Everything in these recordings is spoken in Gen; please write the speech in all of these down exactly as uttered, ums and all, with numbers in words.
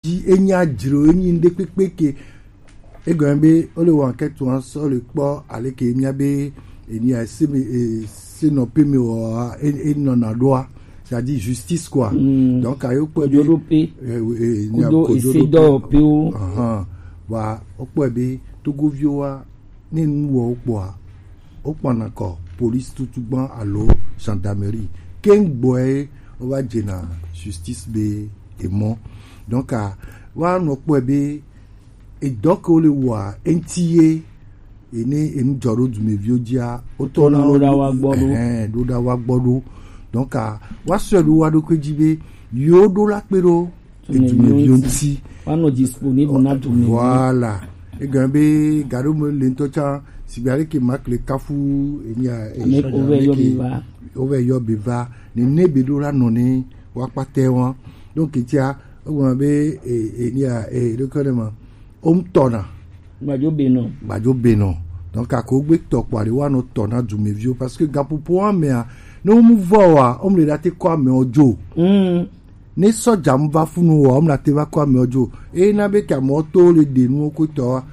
dzi, enya dzro, enyi ŋɖekpekpe ke. Egɔme be wole wɔ enquête wa sɔ le kpɔ aleke mía be enya se me, e, se nɔ pe me wɔ, e, e nɔna ɖoa, c'est-à-dire justice quoi. Donc ayo kpɔe be, Kojoɖope. E, e, nya Kudo kojoɖope. Esedɔwɔpewo. Ahan. Wa wokpɔe be Togoviwo wa ne nu wɔ wo kpɔa, wokpɔna kɔ police tutu gbã alo gendarmerie. Keŋ gbɔe wova dzena justice be emɔ. Donc a, woanɔ kpɔe be edɔ ke wole wɔa eŋti ye ene enu dzɔ ɖo dumeviwo dzia, wotɔ Tɔna ɖo ɖa wa gbɔ ɖo. Ɛhɛn, ɖo ɖa wa gbɔ ɖo. Donc a, woasɔe ɖo wa ɖokui dzi be yewo ɖo la kpe ɖo Dumeviwo edumeviwo ŋti. ŋti. Woanɔ disponible na dumeviwo. Voilà. Egɔme be gaɖo me le ŋutɔ tsã, sigbe aleke Mark le kafu enya Ame ko wove yɔ be va. Wove yɔ be va. Nene be ɖo la nɔ ne woakpatɛ wa. Donc etia, egɔme be e, enya e ɖo ke ne ma. Wom tɔna. Gbajo be nɔ. Gbajo be nɔ. Donc ako gbe tɔ kpɔ aɖe woanɔ tɔ na dumeviwo parce que gaƒoƒo wa mea, ne wo mu vɔ wa, wom le ɖate kɔ amewo dzo. Mm. Ne sɔdza mu va funu wa, wom la te va kɔ amewo dzo. Eye na be ke amewo to le ɖe nuwo ko tɔ wa,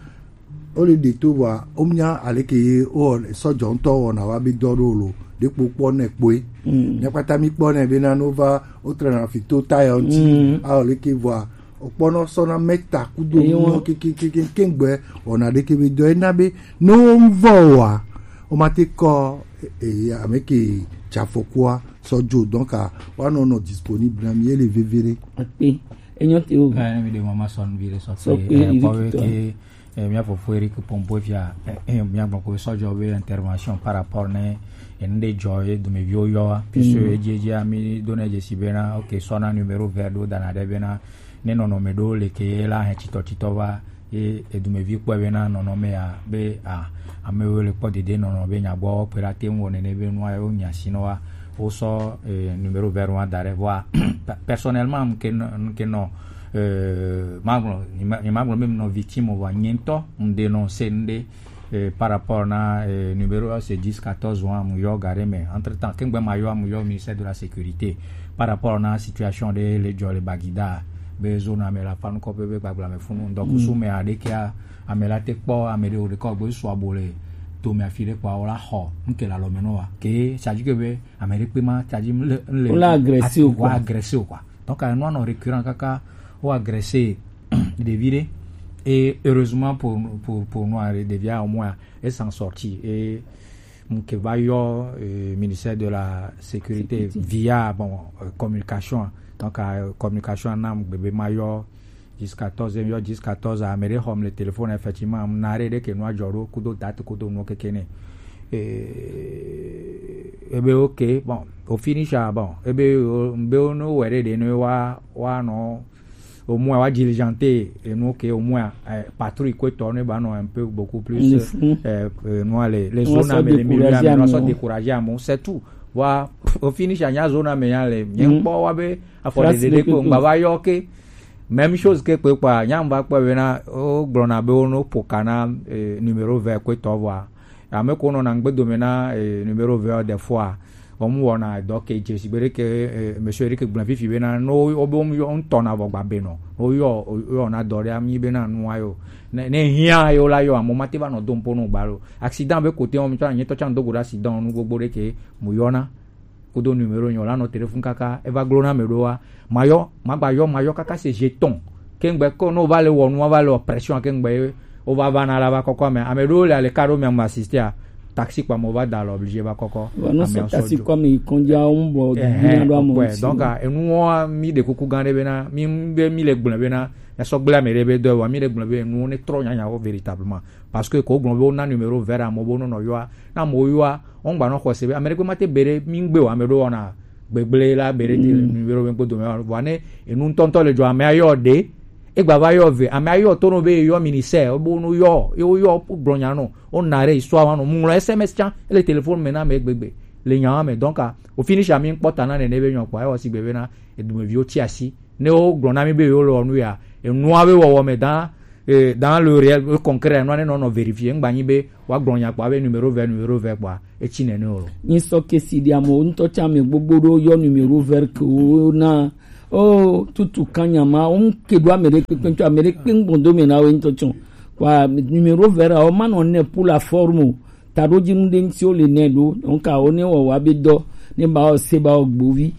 wo le ɖe to wa, wom nya aleke ye wo sɔdza ŋutɔ wɔna wa be dɔ ɖo lo. Ɖe kpo kpɔ ne kpoe. Mm. Ne kpata mi kpɔ ne be na no va, wo trena fi to tayɔ ŋti. Mm. A aleke vɔa, okpɔnɔ sɔna mɛta kudo Eyi nuwo wọn. Kekekeke ŋgbɛ wɔna ɖeke be dɔ ena be ne wo ŋvɔ wa, wo ma te kɔ e, e, ame ke dza afɔkua sɔ dzo. Donc a, woanɔ nɔ disponible na mi, ele veve ɖe. Akpe. Enyɔ te o. Eh, ne mi de mama sɔn vi de sɔ Sɔ pe, pe, eh, Eric kɔ be tɔ. ke, eh, mia fofo Eric Pombo fia, eh, eh, mia gbɔ ko sɔjɔ be intervention par rapport ne, eh, ne de jɔ ye dumeviwo yɔ wa. Puisque edzi edzi mi do ne dze si bena, ok, sɔ na numéro vert do dana de bena, ne nɔnɔme ɖo le ke ye la hɛ titɔ titɔ va, ye edumevi kpɔe bena nɔnɔme ya be, a, amewo le kpɔ dede nɔnɔ be nya gbɔ kpe la te ŋu wɔ nene be nua yewo nya si nɔ wa. Wo sɔ, eh, numéro vert wa da ɖe vɔa. Pe-, personnellement, nke nɔ, nke nɔ, eh, magblɔ, nye ma-, nye magblɔ be nɔ victime vɔa, nye ŋutɔ ŋde nɔ se ŋde, eh, par rapport na, eh, numéro, c'est dix quatorze wa mu yɔ ga ɖe me. Entre temps, kengbe ma yɔ mu yɔ ministère de la sécurité par rapport na situation ɖe le dzɔ le Bagida be zone ame la fa nukɔ be, be gbagblame funu. Donc, su me aɖe kea, ame la te kpɔ, ame ɖe o ɖe kɔ gbe su abo le dome afi ɖe kpɔ, wo la xɔ, nke la lɔ me nɔ wa. Ke, c'est-à-dire que be, ame ɖe kpe ma, c'est-à-dire le, le, Wo la agresser o, quoi. Wa agresser o, quoi. Donc, euh, nous, on a récurrent kaka, on agresser ɖevi ɖe. Et heureusement pour, pour, pour nous, hein, ɖevia au moins, elle s'en sortit. Et, donc, va yɔ, euh, ministère de la sécurité via, bon, euh, communication. Donc, euh, communication, nam, bébé mayo, dix quatorze, yɔ dix quatorze, ame ɖe xɔm le téléphone, effectivement, na ɖe ɖe ke nua dzɔ ɖo, kudo date, kudo nuwo keke ne. Eh, ebe, ok, bon, au finish, ah, bon, ebe, o, be o no wɛ ɖe ɖe ne wa, wa nɔ, au moins, wa diligenter, et nous, ok, au moins, eh, patrouille, quoi, tourner, bah, non, un peu, beaucoup plus, Le fou. euh, euh, nous, les, les On zones, va mais les se milieux, décourager mais à on va nous. Se décourager à mon, c'est tout. Voilà, au finish, il y a zone, mais il y a les, il y a Mm. pas, ouais, ben, à force Trace de de déco, coco. Bah, va, ok. Même chose que, quoi, quoi, il y a, on va, quoi, ben, là, oh, gblɔna be, ono, pokana, eh, numéro vert, quoi, to, voilà. Ame ko nɔna ŋgbe dome na, eh, numéro vert des fois. Wɔm wɔna dɔ ke dze si be ɖe ke, eh, monsieur Eric gblẽ fifi bena, no, wo be wɔm yɔ ŋutɔ na vɔ gba be nɔ. No yɔ, yɔ na dɔ ɖe ami bena nua yo. Ne, ne hiã yo la yɔ, amo ma te va nɔ dom po no gba lo. Accident be kote wɔm tsɔ, nyetɔ tsã do go ɖe accident nu gbogbo ɖe ke mo yɔna. Kudo numéro nyɔ la nɔ téléphone kaka, eva glo na me ɖo wa. Mayɔ, magba yɔ, mayɔ kaka se jeton. Kengbe ko no va le wɔ nu, va le pression kengbe, o va va na la va kɔkɔ ame. Ame ɖewo le ale ka ɖo mia mu assisté a taxi kpa mo va da le obligé va kɔkɔ. Wa no Ame sɔ sɔ taxi jo. Kɔ ame yi kɔndzi a wo bɔ Ɛhɛn, nya ɖo amo kɔkɔe. ŋti. Donc, ah, enuwo mi ɖe kuku gã ɖe bena, mi be mi le gblẽ bena, ya sɔ gblẽ ame ɖe be dɔ wa, mi le gblẽ be enuwo ne trɔ nyanyawo véritablement. Parce que ko gblɔ be wo na numéro vert amo bo no nɔ yɔa, na mo yɔa, on gba nɔ xɔse be ame ɖe gbe ma te be ɖe mi gbe wa, ame ɖo wɔna gbegble la be ɖe te le numéro be gbodo me wa. Vɔa ne enu ŋutɔŋutɔ le dzɔ, ame ayɔ ɖe, egba va yɔ ve, ame ayɔ to no be yɔ ministère, wo bo no yɔ, ye wo yɔ gblɔ nya no, wo na ɖe histoire wa no, mu ŋlɔ S M S tsã, ele téléphone me na ame gbegbe, le nya wa me. Donc, ah, au finish, ami ŋkpɔ ta na nene be nyɔ kpɔ, ewɔ si gbe be na edumeviwo ti asi, ne wo gblɔ na mi be yewo le wɔ nu ya, enua be wɔwɔ me dans, eh, dans le réel, le concret, enua ne nɔ nɔ vérifier, ŋgba nyi be wa gblɔ nya kpɔ be numéro vert, numéro vert kpɔa, etsi nene o lo. Nyi sɔ ke si ɖi amo ŋutɔ tsã ame gbogbo ɖo yɔ numéro vert ke wo na Oh, tutu kanyama, on ke do amere kpekpe to amere kpengbondo me na we nto chon. Kwa numéro vert a o ma no ne pour la forme. Tado ji mu de nti o le ne do. Donc a o ne wa wa be do ne ba o se ba o gbovi.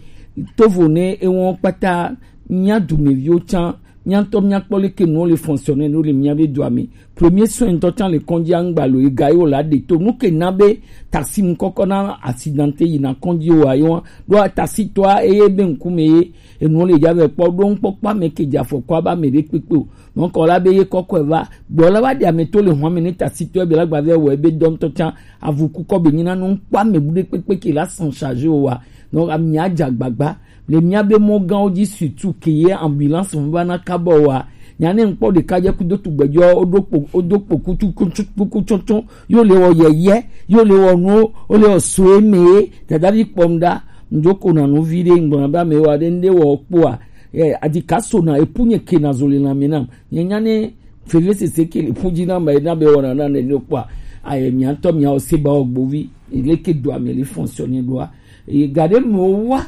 Tovo ne e won pata nya du me vi o chan, nya to nya kpole ke no le fonctionner no le mia be do ami. Premier soin to chan le konji angba lo e ga yo la de to nu ke na be taxi mu koko na accidenté yi na konji o ayo. Do a taxi to a e be nkume ye. Enu le ja vɛ kpɔ ɖo ŋkpɔkpɔ ame ke dza fɔ kɔ aba ame ɖe kpekpe o. Donc ɔ la be ye kɔkɔe va gbɔ la va ɖe ame to le hɔn ame ne tasi tɔ ebe la gba vɛ wɔ ebe dɔn tɔ can avu kukɔ be nyina nu ŋkpɔ ame bu ɖe kpekpe ke la san charge o wa. Donc ami adza gbagba le mia be mɔ gãwo dzi surtout ke ye ambulance ŋu va na kabɔ wa. Nya ne ŋkpɔ ɖeka dze kudo tugbɛdzɔ woɖo kpo woɖo kpo kutu kutu kuku tsɔtsɔ yo le wɔ yɛyɛ yo le wɔ nuwo wo le wɔ soe me ye dadavi kpɔm ɖa. Ŋdzo ko na nu vi ɖe ŋgblɔ na be ame wa ɖe ŋɖe wɔ kpoa. Ɛ adika so na epu nye ke na zo le na mi nam nye nya ne feve sese ke le pu dzi na ma na be wɔ na na ne ne kpoa. Ayɛ mia ŋutɔ mia wo se ba wɔ gbovi ele ke do ame le fonctionner ɖoa. Eye ga ɖe me wo wa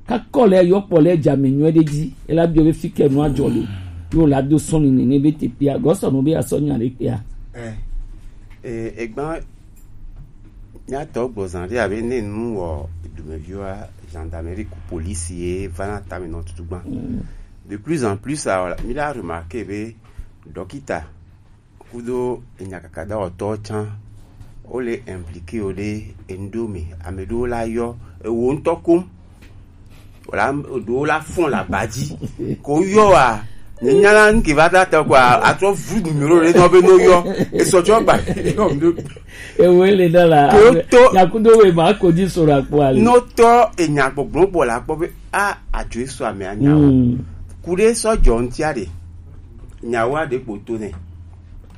kakɔ le yɔ kpɔ le dza me nyuɛ ɖe dzi ela biɔ be fi ke nu adzɔ le yo la do sɔn ni ne be te pia gɔsɔ nu be asɔ nya ɖe pia. Ɛ ɛ egba Míatɔ gbɔzan ɖe abe ne nu wɔ dumeviwa gendarmerie ku police ye va na tame nɔ tutu gbã. De plus en plus a mi la remarquer be dɔkita kudo enyakaka dawɔtɔ can wo le impliqué wo ɖe enu ɖewo me. Ame ɖewo la yɔ ewo ŋutɔ kom wòla ɖewo la fɔn le aba dzi ko yɔ wa ne nya la ŋke va ta tɔ kɔa atrɔ vu numéro ɖe nɔ be no yɔ esɔ tsɔ gba yɔ mi ɖo. Ewe le da la ko to nyakudo we ma ko di sora kpo ale no tɔ enya gbɔgblɔ bɔ la kpɔ be a adzo esu ame anya o. Ku ɖe sɔ dzɔ ŋtia ɖe nyawo aɖe kpo to nɛ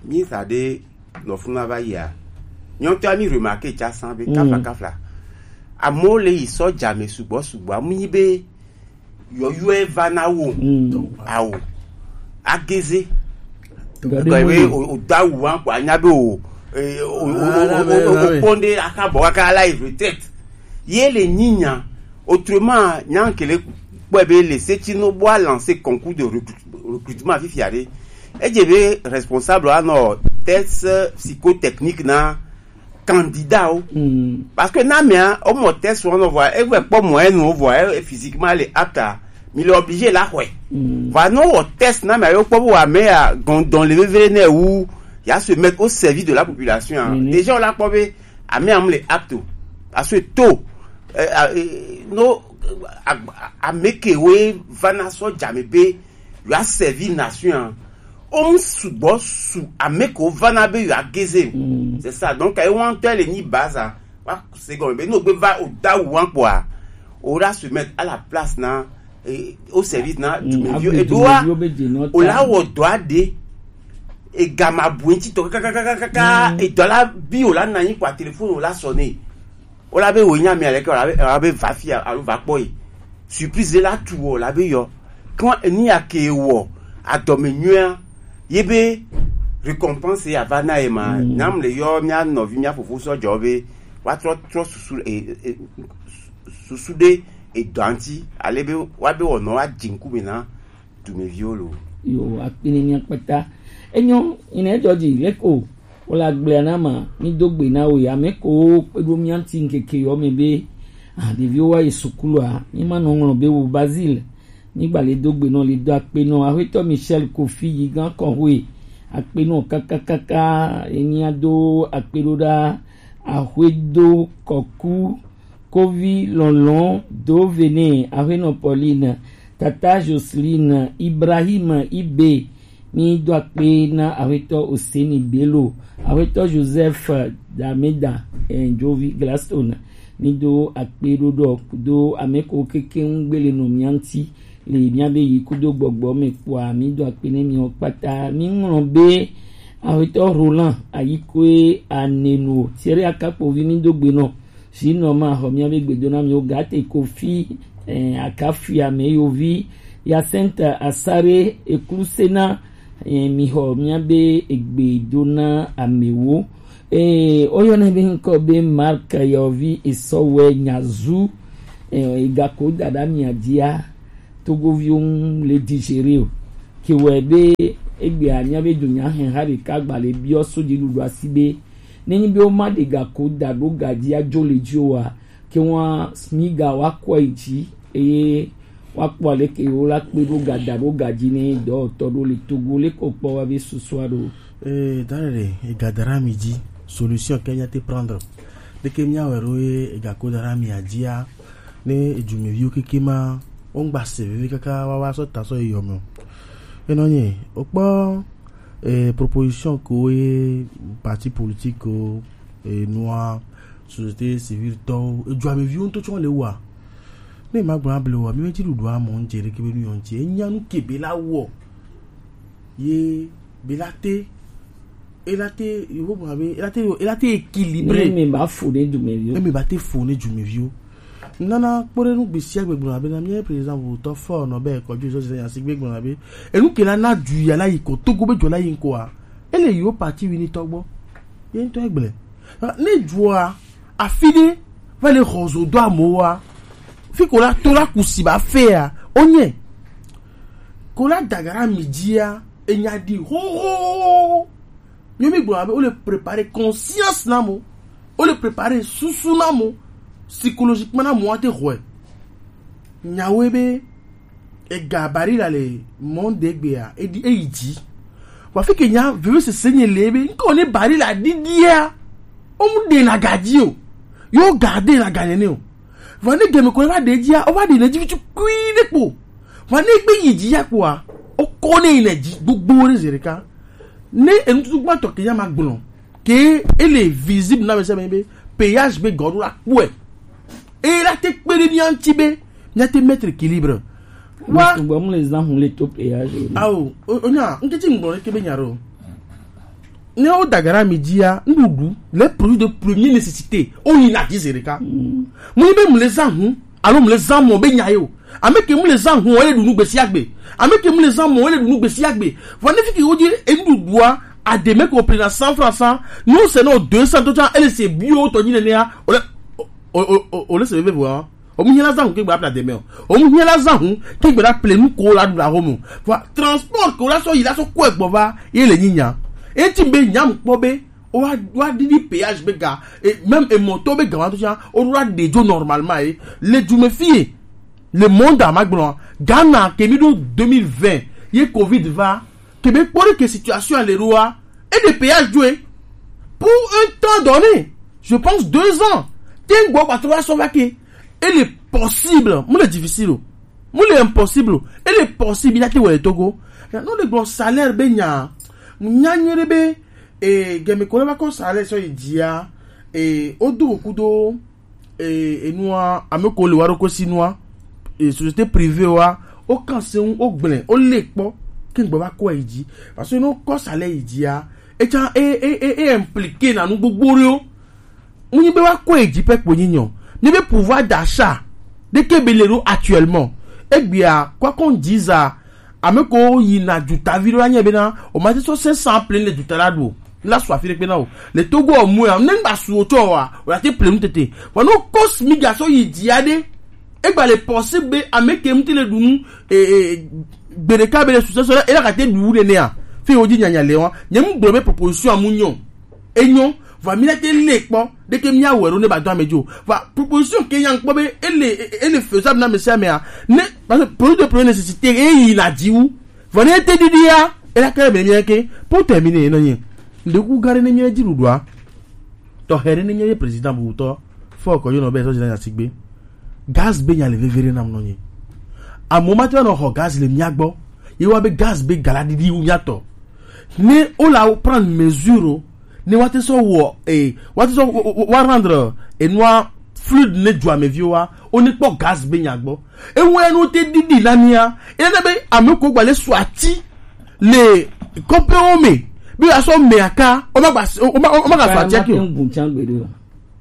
mi sa ɖe nɔ funu ava yia nyɔtɔ mi remarqué tsa san be kafla kafla amewo le yi sɔ dzame sugbɔ sugbɔ amu yi be yɔyɔe va na wo awo ageze gɔye o o do awu wa ko anya be o o o o o kpɔn ɖe aka bɔ kaka la yi retraite ye le nyinya autrement nya kele kpɔe be le seti no bo a lancer concours de recrut- recrutement fifia ɖe edze be responsable anɔ test psychotechnique na candidat wo. Parce que na mea o mɔ test wɔn nɔ vɔa e vɛ kpɔ mɔ enu vɔa e physiquement le apte a mi le obligé la xɔe. Vɔa no wɔ test na mea yo kpɔ bo wa me ya gɔndɔn le vevere ne wu ya se mettre au service de la population a déjà o la kpɔ be ame am le apte o parce que to eh, ah, eh, no ah, ah, ame ke we va na sɔ dzame be yo a servi nation a o mu sugbɔ su ame ko va na be yo a geze o c'est ça donc e wan tɔ le ni baza wa se gɔme be no gbe va o da wan kpɔa o la se mettre à la place na eh, au service na dumevio e do wa o la wɔ dɔ a de e gama bu ŋuti tɔ kakakakaka e dɔ la bi o la na anyi kpɔa téléphone o la sonné o la be wo nya mi aleke o la be o la be va fi alo va kpɔ yi surprise la tu o la be yɔ kɔ ni ya ke wɔ adɔme nyuia ye be récompense ya va na ye ma nyam le yɔ mia nɔvi mia fofo sɔ dzɔ be wa trɔ trɔ susu e e susu ɖe edɔa ŋuti ale be wa be wɔnɔ wa dzi ŋkume na dumeviwo lo. Yo akpini mia kpata enyo ina ejo ji leko wala gblea na ma mi do gbe na wo ya me ko kpedo mia ŋuti ŋkeke yɔ me be ah ɖeviwo wa yi sukulua mi ma nɔ ŋlɔ be wo Basile mi gba le do gbe nɔ le do akpe nɔ ahuetɔ Michel Kofi yi gan kɔhoe akpe nɔ kakakaka enia do akpe ɖo ɖa ahuedo kɔku Kovi lɔlɔn do vene ahuenɔ Pauline, tata Jocelyne, Ibrahim Ibe, mi do akpe na ahuetɔ Oseni Bello, ahuetɔ Joseph Dameda, eh, Jovi Gladstone, mi do akpe ɖoɖɔ do ameko keke ŋgbele nɔ mianti le miabe yi kudo gbɔgbɔ me kpɔa mi do akpe ne mi kpata mi ŋlɔ be ahuetɔ Roland Ayikoe Anenu Thierry Akakpovi mi do gbe nɔ Sinon ma xɔ miabe gbedo na mi wo gate kofi eh, akafia me yovi Yacinthe Asare eklusena eh, mi xɔ miabe egbedo na amewo eh, oyɔnɛ be ŋkɔ be Mark yɔvi esɔwɛ nyazu eh, egako dada mia dia Togoviwo ŋu le digérer o. Ke wɔe be egbea mía be dunyaheha ɖeka gba le biɔ so dziɖuɖua si be, nenyi be woma ɖe ga ko da ɖo ga dzi adzo le dzi oa, ke ŋua SMIGa woakɔe yi dzi eye woakpɔ aleke yewola kpe ɖo ga da ɖo ga dzi ne dɔwɔtɔ ɖo le Togo le ko kpɔ wa be susua ɖo. Ee, da ɖe ega da ɖe ami dzi, solution ke mía te prendre. Ɖeke mía wɛ ɖo ye ega ko da ɖe ami adzia, ne edumeviwo keke ma, wo ŋgba se veve kaka wa wa sɔ ta sɔ yi yɔ me o. Enɔ nye, o kpɔ, eh, proposition ko ye parti politique ko, eh, nua, société civile tɔwo, edumeviwo ŋutɔ tsɔ le wa. Ne ma gblɔ able wa, mi me ti ɖuɖu amɔ ŋtse ɖeke be nu yɔ ŋtse. Enya nu ke be la wɔ. Ye be la te, e la te, yo bo be, e la te, e la te équilibré. Ne mi ba fo ne dumeviwo. Ne mi ba te fo ne dumeviwo. Nana kpɔ ɖe nu gbesiagbe gblɔ abe na mía président votɔ fɔ nɔ be kɔdzi zɔ zɔ ya sigbe gblɔ abe. Enu ke la na du ya la yi ko Togo be jɔ la yi ko a. Ele yo parti wini tɔgbɔ. Ye ŋutɔ egblẽ. Ne dua afi ɖe va le xɔ zo do amewoa, fi ko la to la kusi ba fea, onye. Ko la dagara mi dzia, enya ɖi hoho. Mi mi gblɔ abe, wole préparer conscience na mo. Wole préparer susu na mo. Psychologiquement na mo ate xɔe. Nyawoe be, ega Barilla le monde gbea, edi eyi dzi. Wa fi ke nya veve sese nye le be, nko ne Barilla didia, o mu de na gadzi o. Yo garde na ganye ne o. Vɔ ne gɛmɛ ko va ɖe dzia, o va ɖe ne dzi vitsu kui ɖe kpo. Vɔ ne gbe yi dzi ya kpoa, o kɔ ne yi ne dzi gbogbo ɖe zi ɖeka. Ne enututu gbãtɔ ke ya ma gblɔ, ke ele visible na mese me be péage be gɔɖo la kpɔe. E la te kpe ɖe mía ŋuti be mía te mettre équilibre. Wa. Gbɔ mu le zan hun le to péage. Awo, o, o nya, n ke ti n gblɔ ke be nya ɖo. Ne wo dagara mi dzia, nuɖuɖu, les produits de première nécessité, o yi na dix zéro ka. Mu ni be mu le zan hun, alo mu le zan mɔ be nya yo. Ame ke mu le zan hun, o le ɖu nu gbesi agbe. Ame ke mu le zan mɔ, o le ɖu nu gbesi agbe. Vɔ ne fi ke wo dzi enuɖuɖua, a de me ko prix na cent francs san, nous c'est nos deux cents to tsa, ele se bio to dzi nenea, o le, o, o, o, o le se veve vɔ. O mu hiã la zan hun ke gba apla deme o. O mu hiã la zan hun ke gba la ple nu ko la ɖu la ho mo. Vɔ transport ko la sɔ yi la sɔ kɔe gbɔ va ye le nyi nya. Eti be nya mu kpɔ be o wa, wa ɖiɖi péage be ga, e, même e moto be ga wa to tsa, o wa ɖe dzo normalement ye. Le du me fie, le monde a ma gblɔ, Ghana ke mi ɖo deux mille vingt, ye covid va, ke be kpɔ ɖe ke situation le ɖoa, e ɖe péage dzo ye. Pour un temps donné, je pense deux ans, te gbɔ kpatɔ wa sɔ va ke, ele possible, mu le difficile o, mu le impossible o, ele possible ya te wɔ le Togo. No le gblɔ salaire be nya, nya nyuie ɖe be, e, gɛmɛ ko le va kɔ salaire sɔ yi dzia, e, o do kudo, e, enua, ame ko le wa ɖo ko si nua, e, société privée wa, o kan se ŋu, o gblẽ, o le kpɔ, ke gbɔ va kɔ yi dzi. Parce que no kɔ salaire yi dzia, e tsa, e, e, e, e impliqué na nu gbogbo ɖewo. Mu nyi be wa kɔ yi dzi pɛ kpo nyi nyɔ. Ni be pouvoir d'achat ɖe ke be le ɖo actuellement. Egbea, kwa kɔn dziza, ame ko yi na dzuta vi ɖo la nye be na, o ma te sɔ cinq cents plein le dzuta la ɖu o. La su afi ɖe kpe na o. Le Togo o mu ya, ne ŋgba su o tsɔ wa, o la te plein nu tete. Vɔ no kɔ SMIGa sɔ yi dzi aɖe. Egba le possible be ame ke ŋuti le ɖu nu, e, e, gbe ɖeka be le susɔ sɔ la, e la ka te ɖu nenea. Fi wo dzi nyanya le wa. Nye mu gblɔ be proposition amu nyɔ. Enyo, va mi la te le kpɔ, ɖeke mi awɛ ɖo ne ba do ame dzo. Va proposition ke nya kpɔ be ele, ele faisable na ame sia amea. Ne, parce que produit de première nécessité, e yi na dzi wu. Va ne te ɖiɖia, e la ke be mi ke, pour terminer, non, nye. Ndeku gare ne mi dzi ɖuɖua. Tɔ he ne mi ye président bubutɔ, fɔ kɔ yo nɔ be so jina sigbe. Gaz be nya le vevere nam nɔ nye. Amewo ma te nɔ xɔ gaz le mia gbɔ. Ye wa be gaz be gala ɖiɖi wu mia tɔ. Ne o la prendre mesure o, ne wa te sɔ wɔ, eh, wa te sɔ wa, wa, wa rendre, eh, enua fluide ne dua me viwo wa, o ne kpɔ gaz be nya gbɔ. Ewe no te ɖiɖi na mia. E na be ame ko gba le su ati le kɔpewo me. Be asɔ me aka, o ma gba, o ma, o ma gba su ati ake o.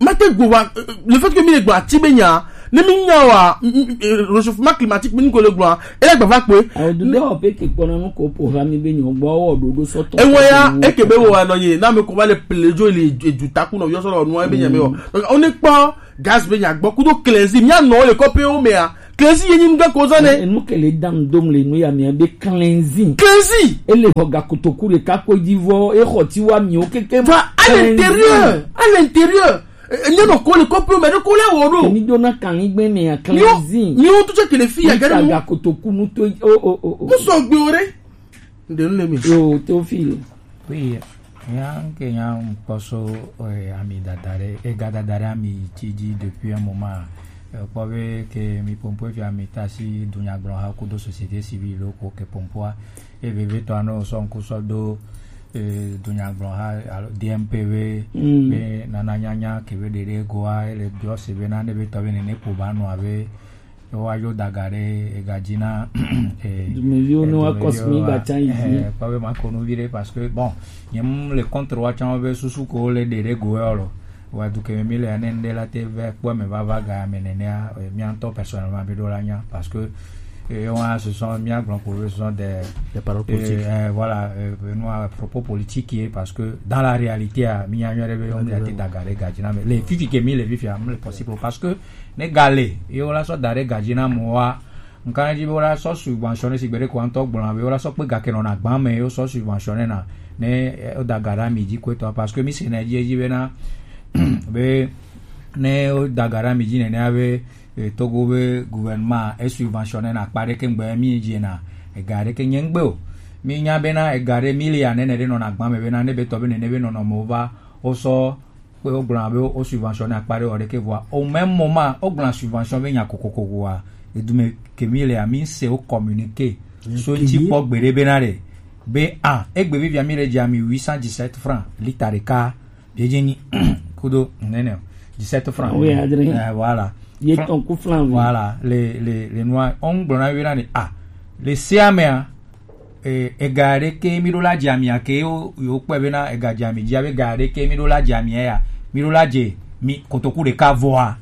Mate gbo wa, eh, le fait que mi le gba ti be nya, ne mi nya wa, mm, mm, eh, réchauffement climatique mi ko le gba, e le gba va kpe. Awo du do pe ke kpɔna nu ko po ha mi be nyo gba o do do sɔtɔ. Ewe ya, e ke be wo wa nɔ ye, na me ko va le plejo le, eh, du taku nɔ yo sɔ nɔ e be nya me o. Donc, on est pas gaz be nya gbɔ kudo klezi, mia nɔ le kɔpewo me a. Crazy ye nyim ga ko zane. Enu ke le dam dom le nu ya mi be cleansing. Crazy. Ele ho ga kotoku le ka ko di vo e ho ti wa mi o keke. Va à l'intérieur, à l'intérieur. Enye no ko le ko pe me ko le wo do. Mi do na kan igbe me ya cleansing. Mi o tu che ke le fi ya ga ga kotoku nu to o o o o. Mo so gbe ore. Nde nu le mi. Yo, Théophile. Oui, ya nke ya mkpɔso eh, ami dadare, ega dadare ami tidi depuis un moment. Eh, kpɔ be ke mi pompo fi ami tasi dunyagblɔ ha kudo société civile ko ke pompoa. E bebe to ano so nku so do eh, dunyagblɔ ha alo D M P V. Mm. Be nana nyanya ke be dede goa ele biɔ se be na ne be to be ne ne po ba no ave. Wa yo daga ɖe ega dzi na eh, dumeviwo ne wa kɔsi mi ba tsa yi dzi. Kpɔ be ma ko nu vi ɖe parce que bon, nye mu le contre wa tsã be susu ko le ɖe ɖe go yɔ lo. Wa du ke mi le ne nde la te ve kpɔ me va va ga me nenea eh, mi antɔ personnellement mi do la nya parce que eh, on a ce sont mi a grand pour ce sont des Des paroles politiques. Eh, voilà, eh, nous a propos politique parce que dans la réalité, mi a nyɔ ɖe be on a te daga ɖe ga dzi na me. Le fifi ke mi le fifi am le possible parce que ne gale ye wola sɔ da ɖe gadzi na mɔ wa nka dzi be wola sɔ subventionner si gbeɖe ko ŋutɔ gblɔna be wola sɔ kpe gake nɔna gbã me ye wosɔ subventionner na ne eh, woda ga ɖe ami dzi koetɔ parce que mi se na edzi edzi bena be ne woda ga ɖe ami dzi nenea be eh, Togo be gouvernement e subventionner na akpa ɖeke ŋgbe mi dzi na ega ɖeke nye ŋgbe o mi nya bena ega ɖe mi le ya nene ɖe nɔna gbã me bena ne be tɔ be nene be nɔnɔme wo va wosɔ kpe wogblɔna be wo subventionner akpa ɖe wɔ ɖeke vɔa au même moment wogblɔna subvention be nya kokoko vɔa edume ke mi lea mi se wo communiqué so ŋuti kpɔ gbeɖe bena ɖe be a egbe vivia mi le dzi ami huit cent dix-sept francs lita ɖeka biedze nyi kudo nene o dix-sept francs. Oui, adre. Eh, voilà. Ye Fran- ton ku flan. Voilà, le le le noir on gblɔna be na ɖe a le sea mea eh, ega ɖeke mi ɖo la dzi amia ke yo yo kpɔe bena ega dzi ami dzi abe ega ɖeke mi ɖo la dzi amia ya mi ɖo la dze mi kotoku ɖeka vɔa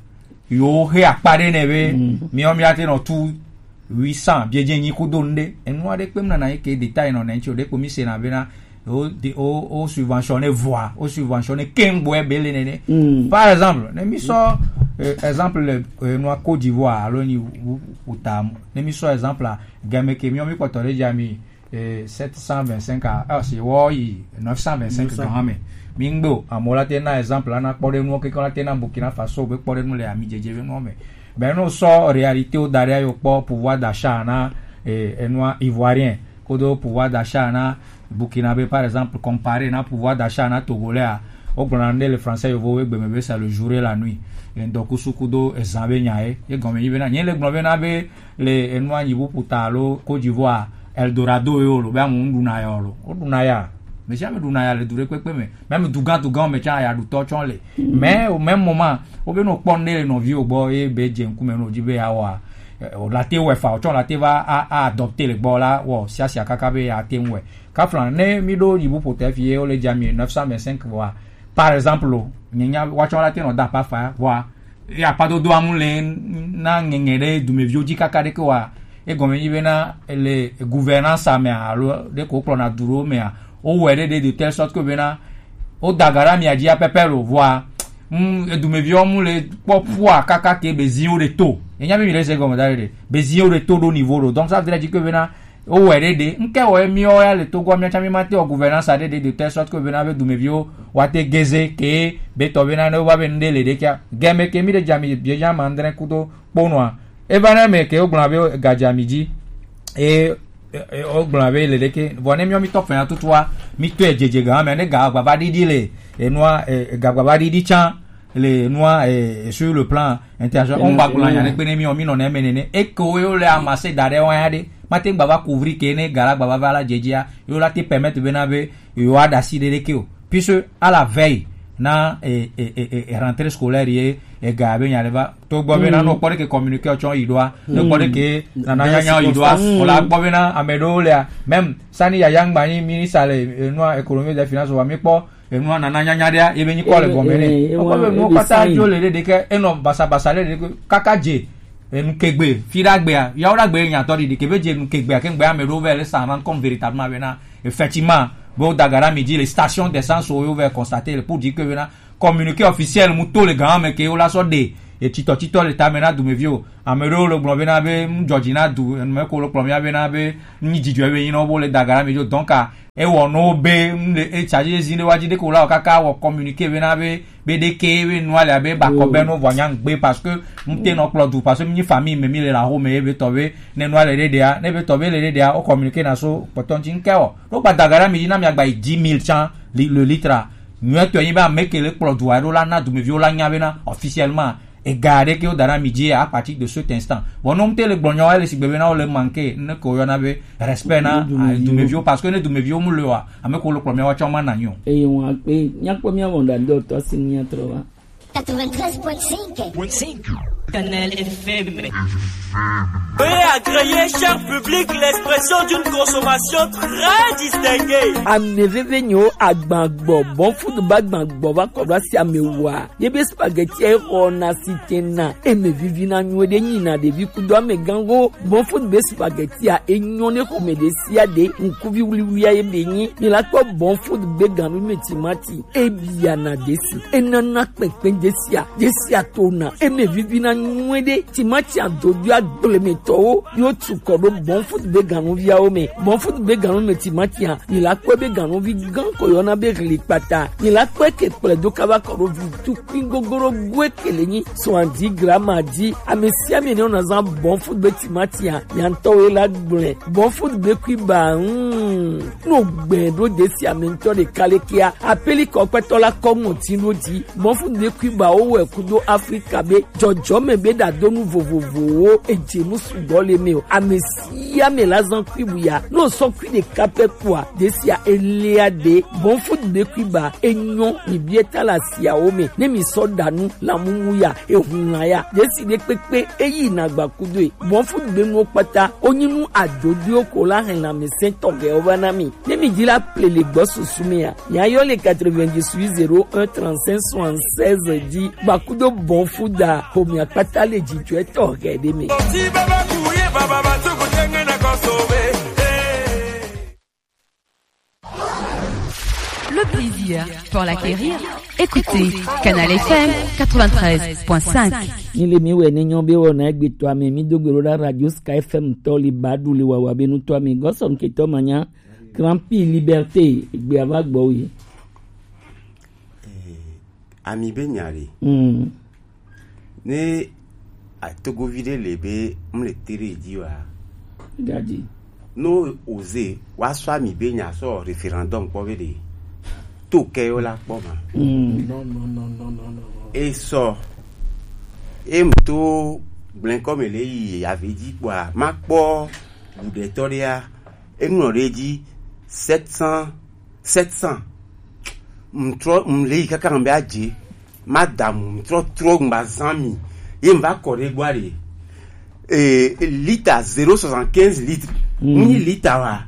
yo he akpa ɖe ne be mi ɔ mi ate nɔ tu huit cents biedze nyi kudo nu ɖe enu aɖe kpem nana yi ke détail nɔ ne ŋuti o ɖe kpo mi se na bena o de- o o subventionné vɔa o subventionné keŋ gbɔ ebe le nene par exemple ne mi sɔ eh, exemple le eh, nua Côte d'Ivoire alo nyi wu- wu- wuta ne mi sɔ exemple a game ke mi ɔ mi kpɔtɔ ɖe dzi ami eh, sept cent vingt-cinq à, ah, c'est oui, neuf cent vingt-cinq grands, mais Mingbo, à Molate, na exemple, on a pas de nous, que quand on a Burkina Faso, on peut pas de nous les amis, Djedje, non, mais, ben, nous, sort réalité au derrière, au port, pouvoir d'achat, na, eh, eh, noir, ivoirien, kodo pouvoir d'achat, na, burkinabé, par exemple, comparé, na, pouvoir d'achat, na, togolais, a, au grand, le français, il vaut, c'est le jour et la nuit. Et donc, kusu kudo, eh, zabe, nyae, et comme, il vient, il est grand, le enua nyi bu puta alo Côte d'Ivoire Eldorado yo lo be amu ɖuna ya lo o ɖuna ya me sia me ɖuna ya le du ɖe kpekpe me me me dugan dugan me tsa ya ɖutɔ tsɔ le mais au même moment wo be no kpɔ ne le nɔvi o gbɔ ye be dze ŋkume no dzi be ya wa o la te wɛ fa o tsɔ la te va a a adopter le gbɔ la wɔ sia sia kaka be ya te ŋu wɛ kafla ne mi ɖo nyi bu puta fi ye o le dza mi neuf cent vingt-cinq wa par exemple o nye nya wa tsɔ la te nɔ da pa fa wa ye akpadodo amu le na ŋɛŋɛ ɖe dumeviwo dzi kaka ɖeke wa egɔme nyi bena le gouvernance mea alo ɖe ko kplɔna du ɖewo mea wowɔe ɖe ɖe de telle sorte que bena woda ga ɖe amia dzi apɛpɛ lo vɔa mm, edumeviwo mu le kpɔ pua kaka ke beziwo ɖe to enya be mi ɖe se gɔme da ɖe ɖe beziwo ɖe to ɖo niveau ɖo donc ça veut dire que bena Wowɔe ɖe ɖe, ŋkɛ wɔ miwo ya le Togo miatsã mi ma te wɔ gouvernance aɖe ɖe de telle sorte que bena be dumeviwo wa te geze ke be tɔ bena ne wova be nu ɖe le ɖe kia. Game ke mi ɖe dza mi bie dza ma andre kudo kponɔa. Eva ne me ke wogblɔna be ga dza mi dzi. E wogblɔna be le ɖe ke. Vɔ ne miwo mi tɔ fɛna tutua, mi tɔe dzedze ga me ne ga gbava ɖiɖi le enua e ga gbava ɖiɖi tsã. Le nua eh, sur le plan international on va gblɔ nya ɖe kpe ne mi o mi nɔ ne me nene eke wo yo le amase da ɖe wa ya ɖe mate gba va couvrir ke ne gara gba va va la dzedzia yo la te permettre be na be yo a da si ɖe ɖe ke o puisque à la veille na eh, eh, eh, eh, rentrée scolaire ye eh, ga be nya ɖe va to gbɔ be na no kpɔ ɖe ke communiqué o tsɔ yi ɖoa no kpɔ ɖe ke nana nya nya yi ɖoa o la gbɔ be na ame ɖewo lea même sani yaya ŋgba nyi ministre le eh, nua économie des finances wa mi kpɔ Enua nana nyanya ɖea, ebe nyikɔ le gɔme nɛ. Ekɔ be nuwo kpata dzo le ɖe ɖeke, enɔ basabasa le ɖe ɖeke, kaka dze enu kegbe, fi ɖagbea, yawo ɖagbe nyatɔ ɖiɖi, kebe dze enu kegbea, ke ŋgbe ame ɖewo vɛ le s'en rendre compte véritablement bena, effectivement, be wo daga ɖe ami dzi le station d'essence wo yo vɛ constater le pour dire que bena, communiqué officiel mu to le gan me ke wo la sɔ ɖe, Etsitɔ tsitɔ le tame na dumeviwo. Ame ɖewo le gblɔ bena be nu dzɔdzi na du, enu me ko le kplɔ mía bena be nu nyi dzidzɔ be nyi na wo, bo le da ga na mi dzo. Donc, a, ewɔ no be nu le, e charge zi ɖe wa dzi ɖe ko la o kaka wɔ communiqué bena be, be ɖe ke be nua le abe ba kɔ be no vɔ nya ŋgbe parce que nu te nɔ kplɔ du parce que mi famille me mi le la ho me be tɔ be ne nua le ɖe ɖea, ne be tɔ be le ɖe ɖea, o communiqué na so kpɔtɔ ŋti ŋkɛ wɔ. No gba da ga na mi dzi na mi agba yi dix mille tsã li-, le litre. Nyuietɔe nyi be ame ke le kplɔ dua ɖo la na dumeviwo la nya bena officiellement ega ɖe ke wo da na mi dzi à partir de cet instant. Bon, no mte le gblɔ nyawo le sigbe bena wo le manqué ne ko yɔna be respect na, ah, dumeviwo, parce que ne dumeviwo mu le wa, ame ko le kplɔ miawo tsɔ ma na nyo. Eye ŋua kpe, míakpɔ mía wɔna ɖe otɔ si míatrɔ va. Quatre-vingt-treize point cinq. Canal F M. Veuillez agréer, cher public, l'expression d'une consommation très distinguée. Ame veve nyo agbagbɔ, bon food ba agbagbɔ va kɔ ɖo asi ame wa. Ye be spaghetti e xɔ na si te na, eme vivi na nyo ɖe nyi na ɖevi kudo ame gango. Bon food be spaghetti a enyo ne xɔ me ɖe sia ɖe, ŋkuvi wuliwuli a ye be nyi. Mi la kpɔ bon food be ganu me timati. Ebiana desi, enana kpɛnkpɛn desia, desia tona, eme vivina nyuie ɖe, timati adodo agblemetɔwo, yo tu kɔ ɖo bon food be ganuviawo me, bon food be ganu me timatia, mi la kpɔe be ganuvi gan ko yɔna be hli kpata, mi la kpɔe ke kplɔe do kaba kɔ ɖo vi tukui gogoro goe ke le nyi, soixante-dix grammes a di, ame sia ame ne wona zan bon food be timatia, ya ŋutɔ wo la gblɔe, bon food be kui ba, mm. No gbɛ ɖo desi ame ŋutɔ ɖeka le kea, apeli kɔkpɛtɔ la kɔ ŋɔti ɖo dzi. Mɔfu ne kui ba wo wɛ kudo Afrika be dzɔdzɔme be ɖadonu vovovowo edze nu sugbɔ le me o. Ame sia ame la zan kui bu ya. No sɔ kui ɖeka pɛ kua, desia elia ɖe. Mɔfu ne kui ba enyɔ mi bie ta la siawo me. Ne mi sɔ ɖa nu la mumu ya, ehun la ya. Desi ɖe kpekpe eyi na gba kudo e. Mɔfu ne nuwo kpata, onyi nu adodoewo ko la hɛn lãmesẽtɔ gewo va na mi. Ne mi di la ple le gbɔ susu mea, miayɔ le quatre-vingt-dix-huit zéro un trente-cinq soixante-seize di gbakudo bɔn fu da homia kpata le dzidzɔetɔ hɛ ɖe me. Le plaisir pour l'acquérir. Écoutez Canal F M quatre-vingt-treize point cinq. Mi le mi wɛ ne nyɔ be wɔna egbe tɔ ame mi do gbe ɖo ɖa radio Sky F M tɔ li ba ɖu le wawa be nutɔ ame gɔsɔn ketɔ manya. Grand Prix Liberté, egbe ava gbɔ wi. Eh, ami be nya ɖe. Mm. Ne atogovi ɖe le be mle tere dzi wa. Gadi. No oze wa sɔ ami be nya sɔ référendum kpɔ be ɖe. To kɛ yo la kpɔ ma. Mm. Non, non, non, non, non, non. E sɔ. E mto gblɛnkɔ me le yi ave dzi kpɔa, ma kpɔ buɖetɔ ɖea. Eŋlɔ ɖe edzi sept cents, sept cents. Mtrɔ mle yi kaka ŋbe adze. Madamu mtrɔ trɔ ŋba zan mi. Ye mva kɔ ɖe gbɔ ɖe. Eh, lita zéro soixante-quinze litre. Mm. Ŋnyi lita wa.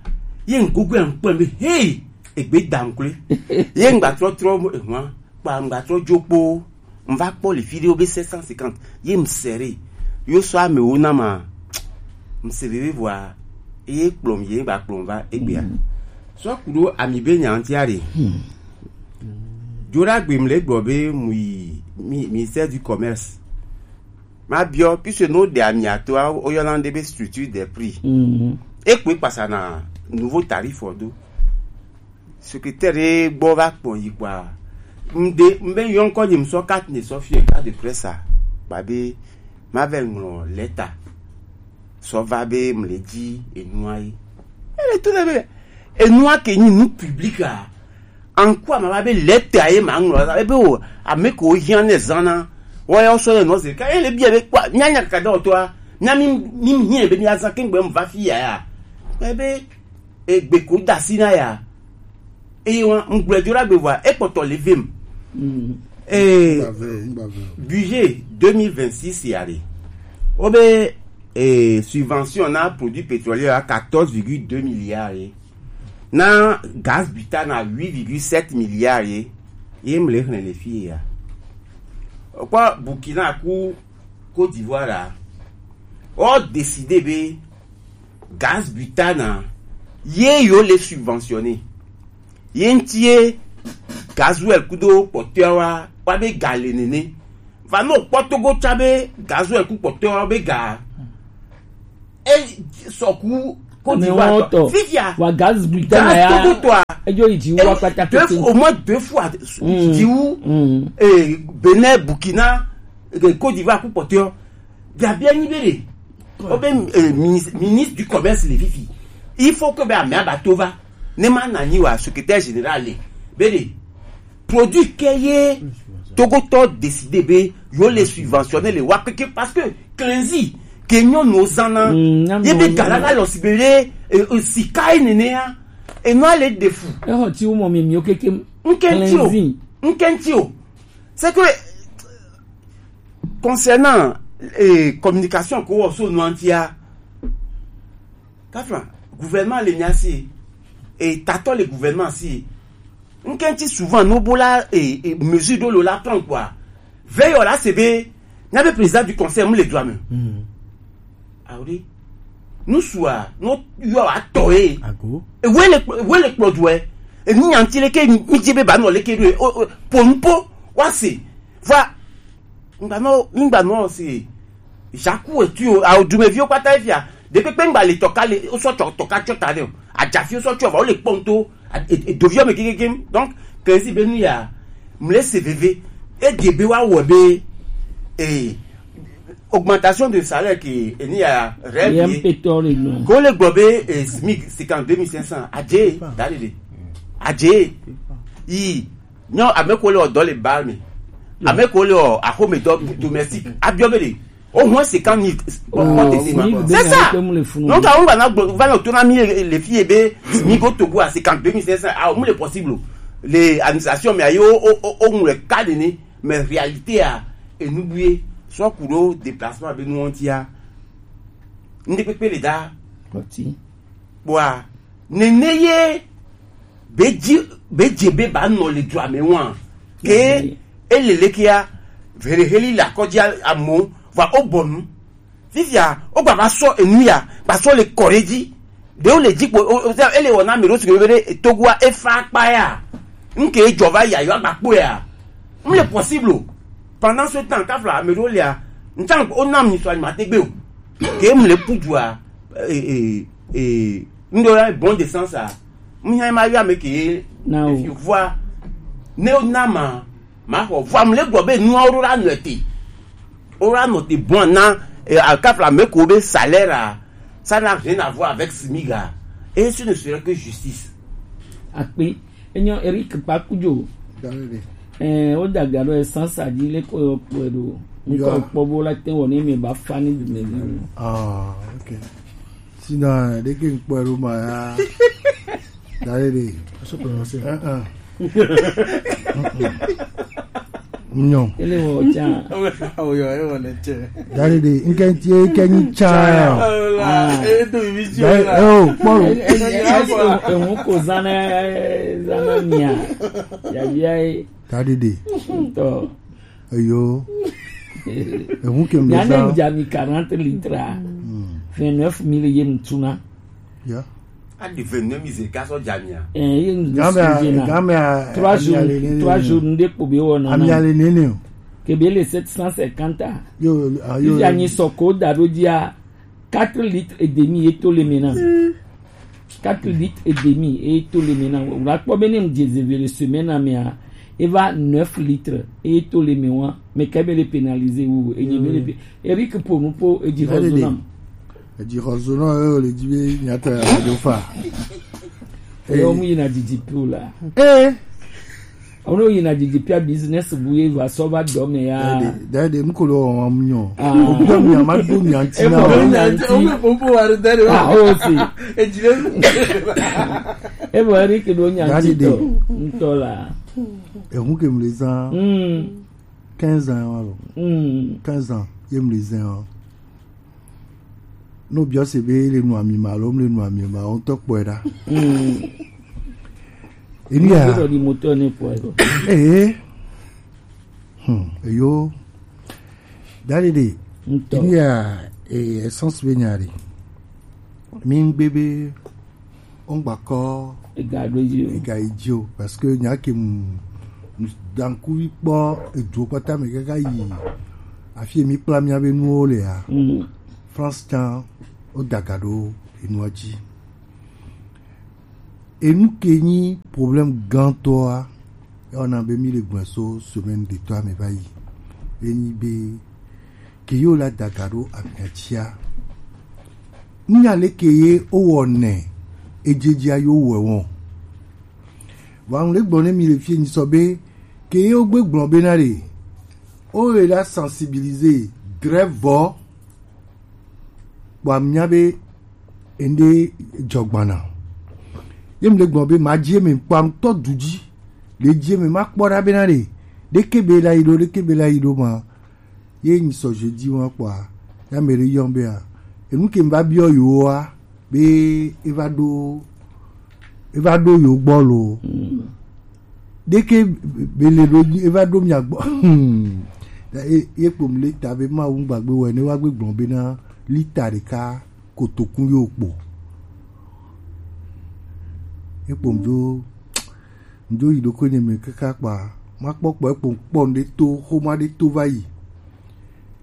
Ye ŋgogo ŋkpɔ be hey, egbe da ŋkle. Ye ŋgba trɔ trɔ ehwa. Kpa ŋgba trɔ djo kpo. Ŋva kpɔ le fi ɖewo be sept cent cinquante ye ŋsere. Yo sɔ amewo na ma. Ŋse veve vɔa ye kplɔm ye ŋgba kplɔm va egbea. Mm. Sɔ ku ɖo ami be nya ŋtia ɖe. Mm. Dzoɖagbe mle gblɔ be mu yi mi-, ministère du commerce. Ma biɔ, puisque no ɖe ami ato a, o yɔna ɖe be structure des prix. Mm. E kpe kpasa na nouveau tarif o do. Secrétaire ɖe gbɔ va kpɔ yi kpɔa. Ŋɖe, ŋbe yɔ ŋkɔ nyi ŋsɔ carte ne sɔ fie carte de presse a. Kpa be, ma vɛ ŋlɔ lɛta. Sɔ va be mle dzi enua yi. Ele to ne be, enua ke nyi nu public a. Anku ama va be lɛta ye ma ŋlɔ. Ebe o, ame ko hiã ne zana. Wa ya sɔ ne nɔ ze. Ka ele bia be kpɔ, nya nya kaka dɔ to a. Nya mi, mi hiã be mi azan kengbe mu va fi ya ya. Ebe, egbe ko da si na ya. Eye wa ŋgblɔe do ɖagbe vɔa ekpɔtɔ le vem. Mm. Eh, Ŋgbave, ŋgbave. Budget deux mille vingt-six ya ɖe. Wo be, eh, subvention na produit pétrolier à quatorze virgule deux milliards ye. Na gaz butane à huit virgule sept milliards ye. Ye mle xlẽ le fi ya. Okpɔ Burkina ku Côte d'Ivoire a. O décider be gaz butane a, ye yo le subventionner. Ye ŋti ye gasoil kudo kpɔtɔa wa, wa be ga le nene. Va no kpɔ Togo tsa be gazo eku kpɔtɔ be ga. E sɔku Côte d'Ivoire tɔ. Fifia. Wa gaz Britannia ya. Gaz Togo tɔ a. Ejo yi ji wa kpata kete. Au moins deux fois. Ji wu. Eh, Benin, Burkina, eh, Côte d'Ivoire ku kpɔtɔ. Gabia nyi be de. Obe, eh, ministre, ministre du commerce le fifi. Il faut que be amea ba to va. Ne ma na nyi wa secrétaire général le. Be de. Produit ke ye Togotɔ décidé be yo le subventionner le wa keke parce que cleansi ke nyɔnu zana ye be gala la lɔ si be le sika ye nene ya e nɔ ale de fu. Ehɔ ti wo mɔ mi mi o keke. Nkenti o. Nkenti o. C'est que concernant eh, communication ko wɔ so nuantia. Kafla, gouvernement le nya si e tatɔ le gouvernement si. Nkenti souvent no bola e, e mesure do lo la prendre quoi. Veillez là c'est be nya be président du conseil mu le droit me. Ah oui. Nous soit no yo ato e. Ago. E we le we le kpɔ do e. E ni nyanti le ke mi je be ba no le ke do e. O o po npo wa se. Va Ngba nɔ ngba nɔ se Jaku etu o awo dumeviwo kpata efia ɖekpekpe ngba le tɔka le wosɔ tɔ tɔka tsɔ ta ɖe o ajafi wosɔ tsɔ va wole kpɔn to edoviwo me kekekem donc kezi be nu ya mle se veve ege be wa wɔ be eh augmentation de salaire ke eni ya rêve ye ko le gbɔ be eh smic cinquante deux mille cinq cents adje da de de adje yi Nyɔ ame ko le ɔ dɔ le ba me. Ame ko le ɔ axome dɔ domestique. Abiɔ be de. O hɔn se kan ni. C'est ça. Donc a on va na va na to na mi le fi be mi go to go à cinquante deux mille cinq cents. Ah, on le possible. Les administrations mais ayo o o o le cas de ni mais réalité a et n'oubliez soit kudo déplacement be nous on tia. Ndi pepe le da. Bwa nene ye be dzi be dze be ba nɔ le dua me wa ke ele le kia vere heli la kɔdzi amo va o bɔnu fifia o gba va sɔ enu ya gba sɔ le kɔre dzi ɖe o le dzi kpo o o ele wɔna mi ɖo si be ɖe togua efa akpa ya nke dzɔ va ya yɔ agba kpo ya n le possible o pendant ce temps kafla ame ɖewo lia n tsa o na mi sɔ anyi ma te gbe o ke m le pu dua ee ee n ɖo ya bon de sens a n nya ma yɔ ame ke na o vua ne o na ma ma xɔ vua m le gbɔ be nua o ɖo la nɔ te o la nɔ te bon na ee kafla ame ko be salaire a ça n'a rien à voir avec smiga et ce ne serait que justice. Akpe Enyo Eric Pakujo. Ɛɛ, o da ga ɖo essence a dzi le ko yɔ kpɔe ɖo. Mi kɔ kpɔ bo la te wɔ ne mi ba fa ni dume vi. Ah, ok. Sinon, ɖe ke kpɔe ɖo ma ya. Dale de. Aso prononcer. Uh-uh. Nyɔ. Ele wɔ tsa. Awo yɔ, ele wɔ ne tse. Dale de, nke tie ke nyi tsa. Ah. Edo emission la. Oh, kpɔ. Eŋu ko zana zana mia. Yabia ye. Tadidi. Tɔ. Eyo. Eŋu ke mu zan. Nyane dza mi quarante litres. Vingt-neuf mille ye mutuna. Ya. A di vingt-neuf mille ze ka sɔ dza mia. Eh, ye mu gamia gamia. Trois jours, trois jours nde ko be wona. Amia le nene o. Ke be le sept cent cinquante. Yo, ayo. Ifi anyi soko da do dia. Quatre litres et demi ye to le me na. Quatre litres et demi ye to le me na. Wla kpɔ be ne mu dze zeve le semaine na mea, eva neuf litres ye to le me wa. Me ka be le pénaliser wo. E nye be le pe. Eric po nu po e dzi xɔ zo nam. E dzi xɔ zo na e le dzi be nyata do fa. E yo mu yina didi pu la. Eh. Ono yina didi pia business bu ye va sɔ va dɔ me ya. Dade, dade, mu ko lo wa mu nyo. Ah. O bi mi ama do mi anti na. E mo nyanti. O mo po wa dade. Ah, o si. E jile. E mo ri ke do nyanti to. Ntola. E hu ke mu le zan. Mm. Quinze ans wa lo. Mm. Quinze ans, ye mu le zan. No biɔ se be le nu ami ma lo, le nu ami ma, o tɔ kpɔe ɖa. Mm. Emi ya. Ko di moteur ne kpɔe ɖo. Eh. Hmm, eyo. Dali de. Ntɔ. Emi ya, eh, essence be nya de. Mi ngbe be o ngba kɔ ega ɖo dzi o. Ega yi dzi o parce que nya ke mu Dankuvi kpɔ eduwo kpata me kaka yi afi mi kpla mia be nuwo le a. Mm. France can o daga ɖo enua dzi. Enu ke nyi problème gãtɔa, ya wɔna be mi le gbɔn so semaine de toi me va yi. Be nyi be ke yo la daga ɖo amia dzia. Nya le ke ye o wɔ nɛ, edzedzia yo wɔ wɔn. Vɔ ŋu le gbɔ ne mi le fie nyi sɔ be ke ye o gbe gblɔ be na le o ye la sensibiliser drɛ vɔ. Kpɔ amia be ende jɔgbana. Ye mi le gbɔ be ma dzi me kpɔ ŋutɔ du dzi. Le dzi me ma kpɔ ɖa be na le ɖeke be la yi ɖo, ɖeke be la yi ɖo ma. Ye nyi sɔ jeudi wa kpɔa, ya me ɖe yɔn be a, enu ke va biɔ yo wa be e va ɖo e va ɖo yo gbɔ lo. Ɖeke be le ɖo e va ɖo mia gbɔ. Ye kpom lita be ma wu gbagbe wɛ ne wa gbe gbɔn be na lita ɖeka kotokun yo kpo. Ye kpom jo njo yi ɖoko nye me kaka kpa ma kpɔ kpɔ ekpom kpɔ ɖe to xoma ɖe to va yi.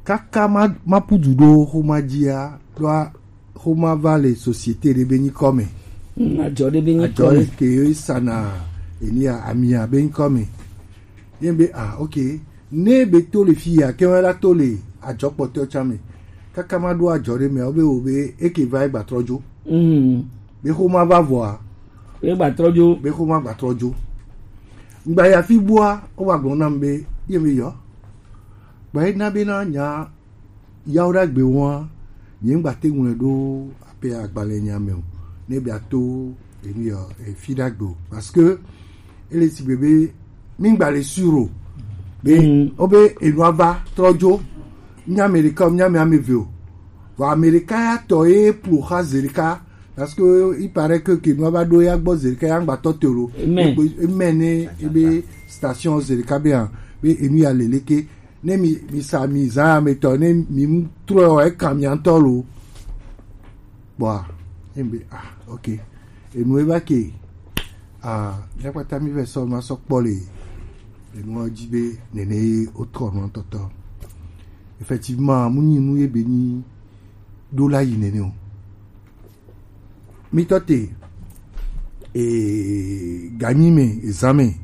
Kaka ma ma pudu ɖo xoma dzia ɖoa xoma va le société ɖe be nyikɔ me. Adzɔ ɖe be nyikɔ me. Adzɔ ke yo sana enia amia be nyikɔ me. Ye be ah, ok. Ne be to le fi ya ke wa la to le adzɔ kpɔtɔ tsa me. Kaka ma ɖo adzɔ ɖe me o be o be eke va egba trɔ dzo. Mm. Be xoma va vɔa. Be gba trɔ dzo. Be xoma gba trɔ dzo. Ngba ya fi bua o wa gbɔn nam be ye be yɔ. Gba ye na be na nya yawo ɖagbe wɔa, nye ŋgba te ŋlɔe ɖo ape agbalẽ nya me o. Ne be ato enu yɔ efi ɖagbe o. Parce que ele si be be mi ŋgba le sûr o. Be mm. O be enua va trɔ dzo. Nya Amerika, nya me ame ve o. Vɔ Amerika ya tɔ ye plo xa zerika. Parce que il paraît que ke nua va ɖo ya gbɔ zerika ya ŋgba tɔ te o. Amen. Eme ne ebe station zerika be ya be enu ya leleke. Ne mi mi sa mi zã ametɔ ne mi mu trɔ eka mi ŋutɔ lo. Kpɔa, emi be ah, ok. Enu eva ke ah, ya kpata mi vɛ sɔ ma sɔ kpɔ le enu dzi be nene o trɔ nɔ tɔtɔ. Effectivement, mu nyi nu ye be nyi ɖo la yi nene o. Mi tɔ te e ganyi me ezan me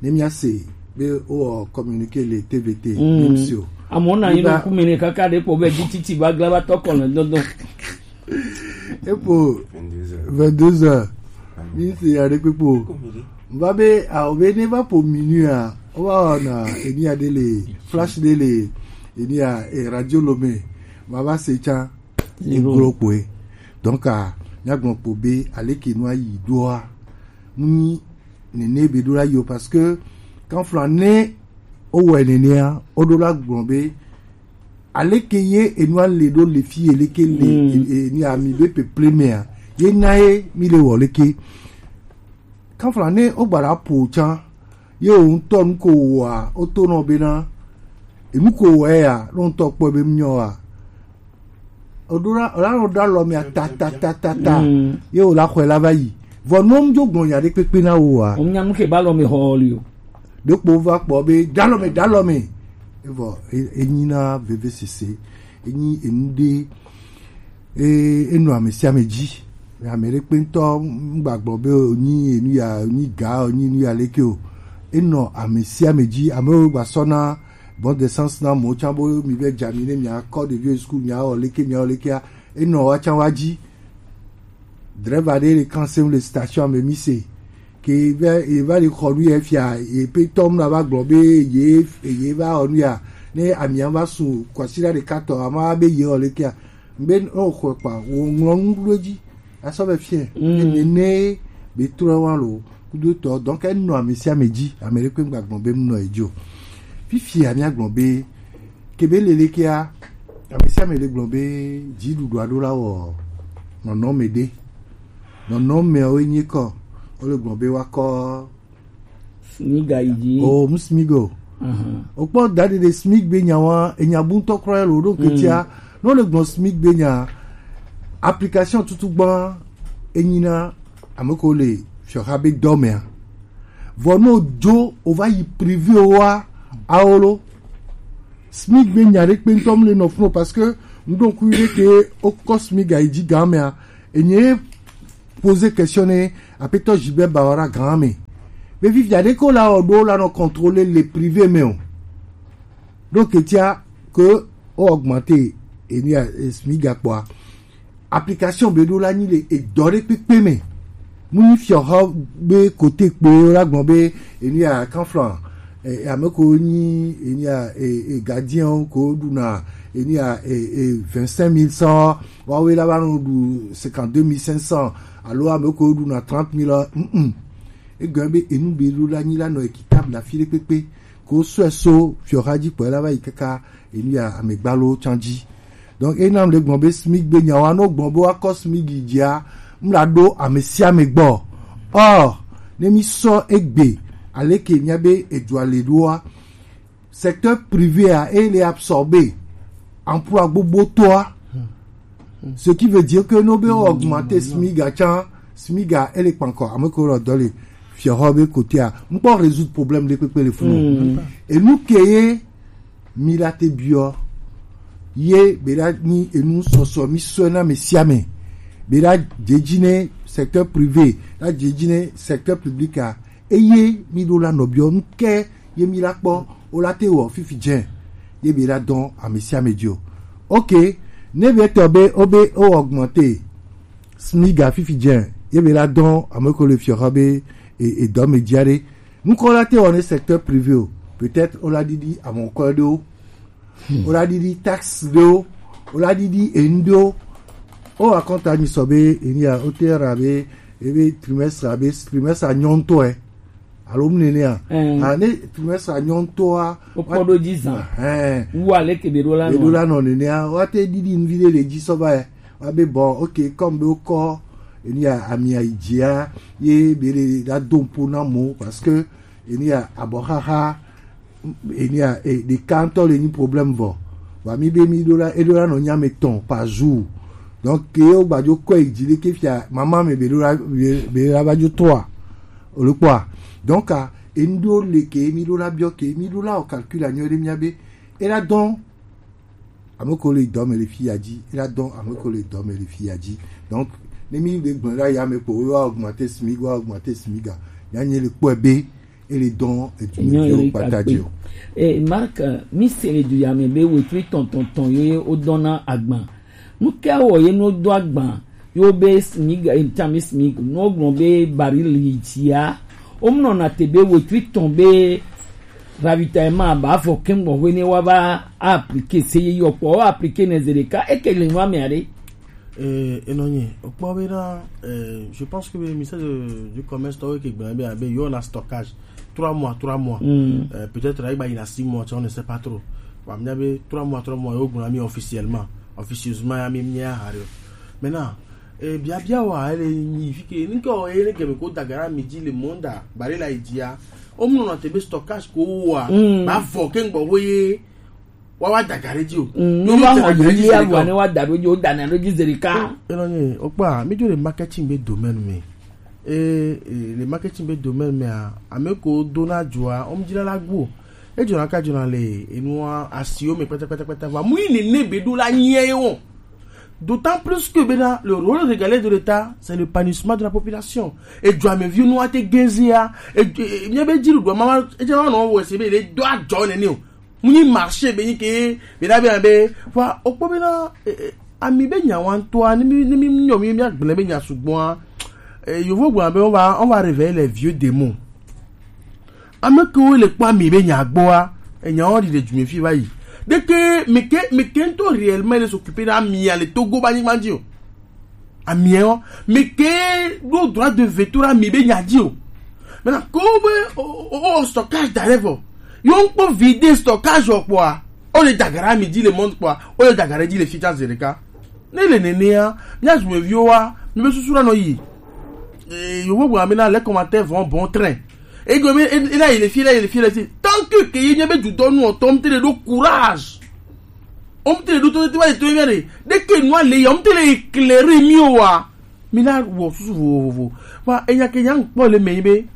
ne mia se be o communiqué le T V T. Mm. Mim sio. Amewo na yi ɖo ku me ne kaka ɖe kpɔ be dzi titi va gla va tɔ kɔ le dɔdɔ. Epo vingt-deux heures. Mi se ya ɖe kpekpo. Va be a o be ne va po minuit a o va na enia ɖe le flash ɖe le enia e radio lo me va va se tsa. Eglo kpoe. Donc a mia gblɔ kpo be aleke nua yi ɖoa, nu nene be ɖo la yi o parce que kanfla ne o wɔ nenea o ɖo la gblɔ be aleke ye enua le ɖo le fi eleke le mm. E, e, ni ami be peple mea ye na ye mi le wɔ leke. Kanfla ne o gbara po tsa ye o ŋutɔ nu ko wɔa o to nɔ bena enu ko wɔ ya ɖo ŋutɔ kpɔ be mi nyɔ wa. O ɖo la o la nɔ ɖo alɔ mea ta ta ta ta ta. Mm. Ye o la xɔe la va yi. Vɔ nɔ mu dzo gblɔ nya ɖe kpekpe na wo wa. O nya nu ke ba lɔ me xɔ li o. Ɖe kpo va kpɔ be ɖalɔ me ɖalɔ me. Evɔ e- enyi na veve sese. Enyi enu ɖe e enɔ ame sia ame dzi. Ame ɖe kpe ŋutɔ ŋgba gblɔ be o nyi enu ya o nyi ga o nyi enu ya leke o. Enɔ ame sia ame dzi. Amewo gba sɔ na bon de sens na mo tsa bo mi be dza mi ne mi akɔ ɖeviwo yi school mi awɔ leke mi awɔ lekea enɔ wa tsa wa dzi. Drɛva ɖe le kan sem le station me mi se ke ve eva le xɔ nu ye fia ye pe tɔm na va gblɔ be ye ye va xɔ nu ya ne amia va su kwasira ɖeka tɔ ama be ye xɔ lekea be o xɔ kpa wo ŋlɔ nu ɖo dzi. Asɔ be fiɛ. Mm. Ene ne be trɔ wa lo kudo tɔ donc enɔ ame sia ame dzi ame ɖe kpe ŋgba gblɔ be nɔ edzo. Fifia mia gblɔ be kebe lele kea ame sia ame le gblɔ be dziɖuɖu aɖo la wɔ nɔnɔme ɖe. Nɔnɔmeawo nye kɔ wole gblɔ be wakɔ Smiga yi dzi. O mu smig o. Aha. O kpɔ da ɖe ɖe smig be nya wa enya bu ŋutɔ kura lo ɖo ketia. Mm. No le gbɔn smig be nya application tutu gbã enyina ame ko le fiɔxa be dɔ mea. Vɔ no jo o va yi privé wa aolo. Smig be nya ɖe kpe ŋutɔ mu le nɔ fun o, parce que ŋdɔ ku ɖe ke o kɔ Smig ayi ji gan mea, enye poser question ne apetɔ Gilbert Bawara gan me. Be fifia ɖe ko la o ɖo la nɔ contrôler le privé me o. Donc etia ke o augmenter enia Smig akpɔa, application be ɖo la nyi le edɔ ɖe kpekpe me. Mu nyi fiɔhɔ be kote kpe o la gbɔn be enia kanflan, e, ame ko nyi enia e, e, gardien o ko ɖuna enia e, e, vingt-cinq mille cent, wawe la va nɔ ɖu cinquante-deux mille cinq cents, alo ame ko ɖuna trente mille, mm, mm. Egɔn be enu be ɖo la nyi la nɔ équitable afi ɖe kpekpe. Ko sɔe so fiɔha ji kpɔe la va yi kaka enu ya amegbalo can ji. Donc ena le gbɔn be Smig be nyawa no gbɔn be wa kɔ Smig jia, mla ɖo ame sia ame gbɔ. Or ne mi sɔ egbe aleke mia be edua le ɖoa, secteur privé a e le absorber emploi gbogbo toa. Ce qui veut dire que no be augmenter Smig a can, Smig a e le kpankɔ, ame ko lɔ dɔ le fiɔhɔ be kotea, ŋkpɔ résoudre problème ɖe kpekpe le funu. Enu ke ye mi la te biɔ ye be la ni enu sɔsɔ mi sɔ na me sia me, be la dze ji ne secteur privé, la dze ji ne secteur public a, eye mi ɖo la nɔ biɔ nu ke ye mi la kpɔ o la te wɔ fifi dze ye be la dɔn ame sia ame dio. Ok, ne be tɔ be o be o augmenter Smig a fifi dze ye be la dɔn ame ko le fiɔha be e, e dɔ me dze ɖe. Ŋkɔ la te wɔ ne secteur privé o, peut-être o la ɖiɖi amɔkɔ ɖewo, o la ɖiɖi taxe ɖewo, o la ɖiɖi enu ɖewo. O akɔnta mi sɔ be enia o te ra be ebe trimestre abe trimestre anyɔntɔe alo mu nenea. A ne trimestre anyɔntɔa o kpɔ ɖo ji zan. Wu ale ke be ɖo la nɔ nenea wa te ɖiɖi nu vi ɖe le ji sɔ va ye. Wa be bɔ, ok, comme be o kɔ enia ami ayi jia ye be le la do ŋpo na mo, parce que enia abɔxaxa enia e ɖeka ŋutɔ le nyi problème vɔ. Wa mi be mi ɖo la e ɖo la nɔ nya me tɔn par jour. Donc ke o gbajo kɔ yi ji ɖe ke fia mama me be ɖo la be la va jo tɔa o le kpɔa. Donc a enu ɖo le ke mi ɖo la biɔ ke mi ɖo la o calcul anyɔ ɖe mia be e la dɔn ame ko le dɔ me le fi ya ji, e la dɔn ame ko le dɔ me le fi ya ji. Donc ne mi le gblẽ la ya me kpo wa augmenter Smig, wa augmenter Smig a, ya nye le kpɔe be e le dɔn edu me viwo kpata ji o. Eh, Marc, mi se le du ya me be wetri tɔn tɔn tɔn ye o dɔn na agban. Nu ke wɔ ye no do agban yo be Smig, eh, tami Smig no gblɔ be baril yi jia. O mu nɔ na te be wetri tɔn be ravitaillement ba fɔ kɛngbɔ hwe ne wa ba appliquer se ye yɔ kpɔ appliquer ne zereka eke le nua me are. Eh, enɔ nyi o kpɔ be na, eh, je pense que be ministère de, du commerce tɔwo ke gblɔ be abe yo na stockage trois mois, trois mois. Euh, peut-être ayi ba yina six mois, on ne sait pas trop. Wa mia be trois mois, trois mois yo gblɔ mi officiellement, officieusement ya mi mia hari. Maintenant eh, biabia wa ele nyi fike ni ko ele ke ko dagara mi ji le monde a bare la idia. O mu no na te be stockage ko wa ba fɔ kɛngbɔ hwe ye wa wa dagare ji o. No wa ho yi ya wa ne wa da do ji o da na do ji zerika. Eno ni o kpa mi jo le marketing be domaine me. Eh, eh, le marketing be domaine me a ame ko do na jo a o mu ji la la gbo. E jo na ka jo na le enu a asi o me pete pete pete wa mu ni ne be do la nye o. D'autant plus que bena le rôle régalien de l'État, c'est l'épanouissement de la population. Et Djouamevio nous a été gazé à, et bien ben dire le doigt maman, et bien non, ouais, c'est bien, les doigts John et nous. Muni marché, ben que, ben là, ben, ben, wa, au point là, ami ben nyawan toi, ni mi, ni mi, nyo mi, mi, ben, ben, nyasu bon, et je vois, ben, on va, on va réveiller les vieux démons. Ame kewo le kpɔ ami be nya gbɔa, enya wo ɖi le dzume fi va yi. Ɖeke meke meke ŋutɔ réellement le s'occuper ɖe amia le Togo ba nyigba dzi o. Amia wo meke ɖo droit de veto ɖe ami be nya dzi o. Maintenant ko be o o o stockage da ɖe vɔ. Yo ŋkpɔ vide stockage o kpɔa, o le dagara ami dzi le monde kpɔa, o le dagara dzi le fitsa zereka. Ne le nenea, mía dumeviwo wa, míbe susu la nɔ yi. Eh, yewo gblɔ be na les commentaires vont bon train. Ego me ena yi le fi la yi le fi la si. Tant que ke ye nye be dudɔ nu ɔtɔ mte le do courage. Omte le do to te wa to mia de. De ke nua le ya omte le éclairer mi o wa. Mi la wɔ susu vovovo. Wa enya ke nya ŋkpɔ le me be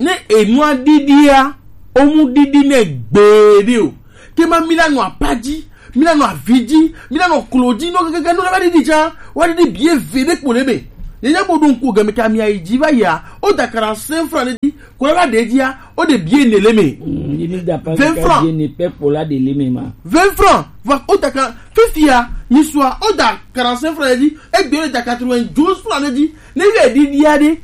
Ne enua didia, omu didi ne gbeɖe o. Ke ma mi la nɔ apa dzi, mi la nɔ avi dzi, mi la nɔ klo dzi, nɔ kekeke nɔ la va didi tsa, wa didi bie ve ɖe kpo le me. Ye nya bo ɖo ŋku game ka mi ayi dzi va yia, o da quarante-cinq francs ɖe dzi, ko la va ɖe dzia, o ɖe bie ne le me. Mm, yi mi da pa vingt francs. Bie ne pe kpo la ɖe le me ma. Vingt francs, va o da ka, fifia, mi sua, o da quarante-cinq francs ɖe dzi, egbe o da quatre-vingt-douze francs ɖe dzi, ne ye didia ɖe.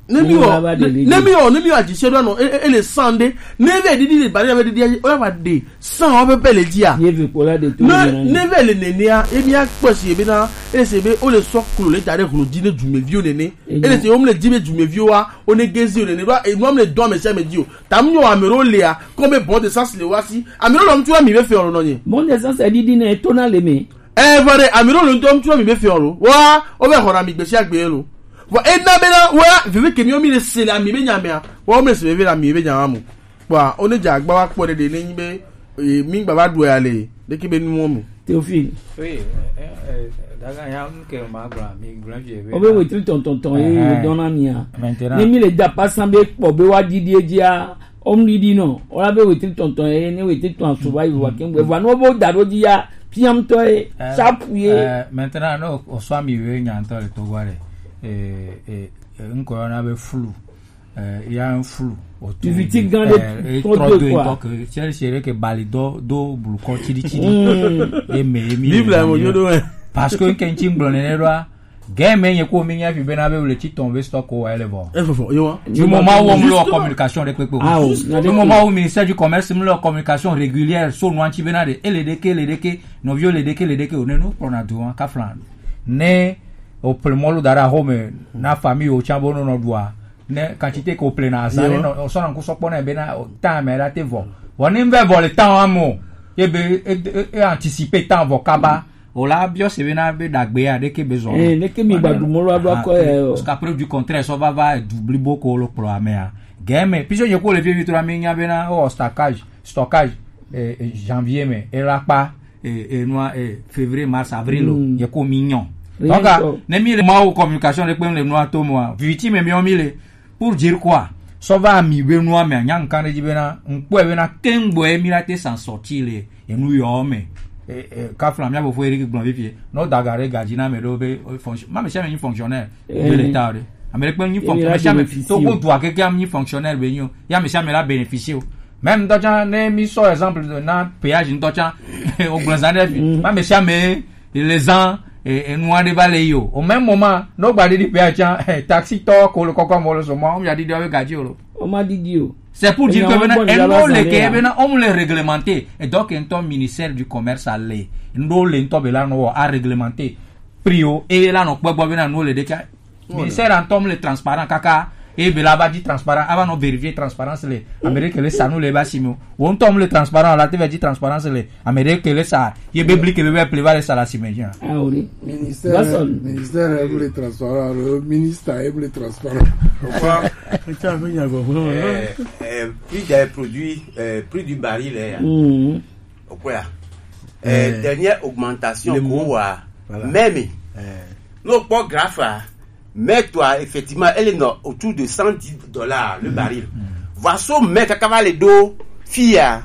Ne mi wɔ, ne mi wɔ, ne mi wɔ adzise ɖo anɔ, e, e, ele san ɖe. Ne vɛ ɖiɖi le bari vɛ ɖiɖi, o ya va ɖe san wɔ pɛpɛ le dzia. Ye vi kpola de to ne, ne vɛ le nenea, e mi akpɔ si ebe na, e se be o le sɔ klo le da ɖe hlo dzi ne dumeviwo nene. E le se o mle dzi be dumeviwo wa, o ne gezi o nene ɖo, e nua mle dɔ ame sia ame dzi o. Tam nyɔ ame ɖewo lea, kɔmi bɔ de sas le wa si. Ame ɖewo le ŋutsu la mi be fe ɔlɔ nɔ nye. Bon de sas e ɖiɖi ne to na le me. E vɔ ɖe, ame ɖewo le ŋutɔ ŋutsu la mi be fe ɔlɔ. Wa, o be xɔ na mi gbe sia gbe lo. Vɔ ena bena wa vivi ke miwo mi le se le ami be nya mea, wa wo mi le se vivi le ami be nya mo. Kpɔa, wo ne dze agba wa kpɔ ɖe ɖe ne nyi be, e, mi gba va ɖu ya le ɖeke be nuwo me. Théophile. Oui, eh, eh, daga ya nu ke ma gblɔ, mi gblɔ vie be. O be wetri tɔntɔntɔn ye dɔn na mia. Maintenant. Ne mi le da pasan be kpɔ be wa didi edzia, o mi didi nɔ, o la be wetri tɔntɔn ye, ne wetri tɔn asu va yi wa kengbe, va no bo da ɖo dzi ya, piam tɔ ye, eh, sapu ye. Eh, maintenant, no, o sɔ mi we nya ŋutɔ le Togo ɖe. Eh, eh, eh, ŋkɔ yɔna be flu. Eh, ya un flu. O tu viti gan de eh, e trɔ do quoi. Ŋutɔ ke, chéri chéri ke bali do, do blukɔ tsidi tsidi. Mm. E me, e mi Bible le mo yo do, eh. Parce que ke ŋtsi ŋgblɔ nene ɖoa, game nye ko mi nya fi bena be le tsi tɔn be stock o ele vɔ. E fofo, yo. Du moment où on le communication de pepe. Ah, oh, du moment où ministère du commerce le communication régulière sur noir ti bena de, ele de ke, ele de ke, novio le de ke, ele de ke, o ne no prona do, hein, kaflan. Ne o ple mɔlu da ɖe axɔ me na famille o tsa bo nɔ nɔ ɖua. Ne quantité ko ple na azã ne nɔ sɔ na ŋku sɔ kpɔ na be na temps me la te vɔ. Vɔ ne vɛ vɔ le temps amo. Ye be e, e, e anticiper temps vɔ kaba. O la biɔ se be na be dagbe ya ɖeke be zɔ. Eh, ɖeke mi gba du mɔlu aɖo akɔ ye o. Jusqu'à preuve du contraire, sɔ va va du blibo ko lo kplɔ amea. Game, puisque nye ko le vie vitro mi nya be na o stockage, stockage, eh, eh, janvier me, e la kpa. Eh, eh, nua, eh, février, mars, avril, mm, ye ko mi nyɔ. Donc, ah, ne mi le ma o communication de kpem le nua to moa, viti me mi o mi le, pour dire quoi? Sɔ va mi be nua me nya nkan de dzi be na, nkpɔ be na kengbo e mi la te s'en sortir le, e nu yo me. Eh, eh, kafla mi abo fo Eric Blanc vivie. No dagare gadzi na me do be, eh, fonction-, ma me sia me ni fonctionnaire de l'État de. Américain ni fonctionnaire, sia me to ko dua ke ke am ni fonctionnaire be nyo. Ya me sia me la bénéficier o. Même ŋutɔ tsã, ne mi sɔ exemple de na péage ŋutɔ tsã, o gblɔ zã ɖe fi. Mm. Ma me sia me, les ans, e, e, nu aɖe va le yi o. Au même moment, no gba ɖiɖi péage tsã, eh, taxi tɔ ko le kɔkɔ mɔ le so mɔ, o mi aɖiɖi awe gadzi o lo. O ma ɖiɖi o. C'est pour dire que maintenant, e no le ke maintenant, on le réglementer. Et donc, ŋutɔ ministère du commerce a le, no le ŋutɔ be la no a réglementer. Prix o, e la no kpɔ gbɔ be na no le ɖe ka. Ministère ŋutɔ mu le transparent kaka. E be la va di transparent, ava nɔ vérifier transparence le. Amérique le sa nu le ba si mo. Wo ŋutɔ mu le transparent, la te va di transparence le. Amérique le sa, ye be bli ke be be ple va le sa la si me jan. Ah oui. Ministère, ministère e mu le transparent, le ministre e mu le transparent. Pourquoi? Eh, eh, prix des produits, eh, prix du baril, eh. Mm. O quoi? Eh, dernière augmentation ko wa. Voilà. Même. Eh. No kpɔ graphe a, mɛ toi, effectivement, elle est no-, autour de cent dix dollars le baril. Voilà, so mɛ kaka va le do fia.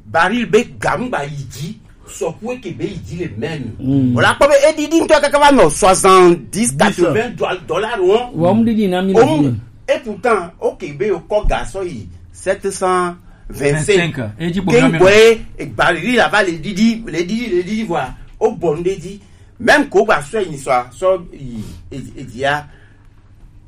Baril be gamu ba yi dzi, sɔkue ke be yi dzi le même. Voilà, kpɔ be e ɖiɖi ŋutɔ kaka va nɔ soixante-dix, quatre-vingts do-, dollars, hein. Wa mu ɖiɖi na mi le. Et pourtant, ok, be o kɔ ga sɔ yi sept cent vingt-cinq. Vingt-cinq. E dzi kpo. Kengbe, e baril la va le ɖiɖi, le ɖiɖi, le ɖiɖi, voilà. O bɔ nu ɖe dzi. Même ko gba sɔ yi sɔ, sɔ yi, e, e dia.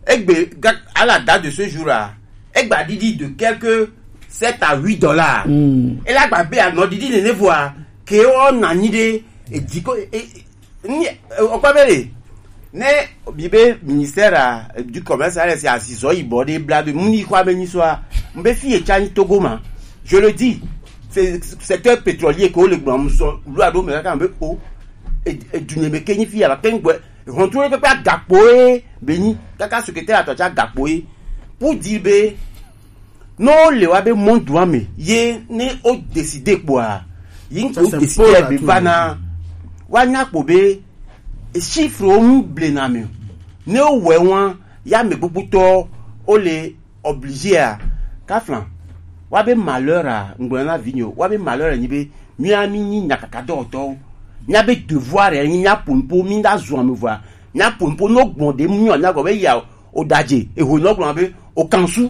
Egbe, ga-, à la date de ce jour-là, egba ɖiɖi de quelque sept à huit dollars. Mm. E la gba be anɔ ɖiɖi nene voa, ke o na nyi ɖe, e dzi ko, e, e, ni, e, o kpɔ be le, ne bi be ministère a, du commerce, a le si asizɔ yibɔ ɖe bla be mu ni xɔ ame nyi sɔa, mu be fi ye tsa nyi Togo ma. Je le dis, c'est secteur pétrolier ke o le gblɔ mu sɔ, lu aɖo me kaka be o, e, e du nye me ke nyi fi ya la, ke ŋgbɛ, Hɔntru ɖe kpekpe agakpo ye be nyi kaka secrétaire atɔ tsa agakpo ye. Pour dire be, ne wo le wa be mɔ dua me ye ne wo décider kpoa, yi ŋkɔ wo décider be va na, wa nya kpo be, e chiffre wo mu ble na me. Ne wo wɛ wa, ya me gbogbo tɔ, wo le Obligé a, kaflan, wa be malheur a, ŋgblɔ na vi nyo, wa be malheur a nyi be, mía mi nyi nyakaka dɔwɔtɔwo, mía be devoir a nyi mía po nupo, mi da zun ame vɔa, mía po nupo no gbɔn de mu nyo mía gɔ be ya o daje, eho no gbɔn be o kansu.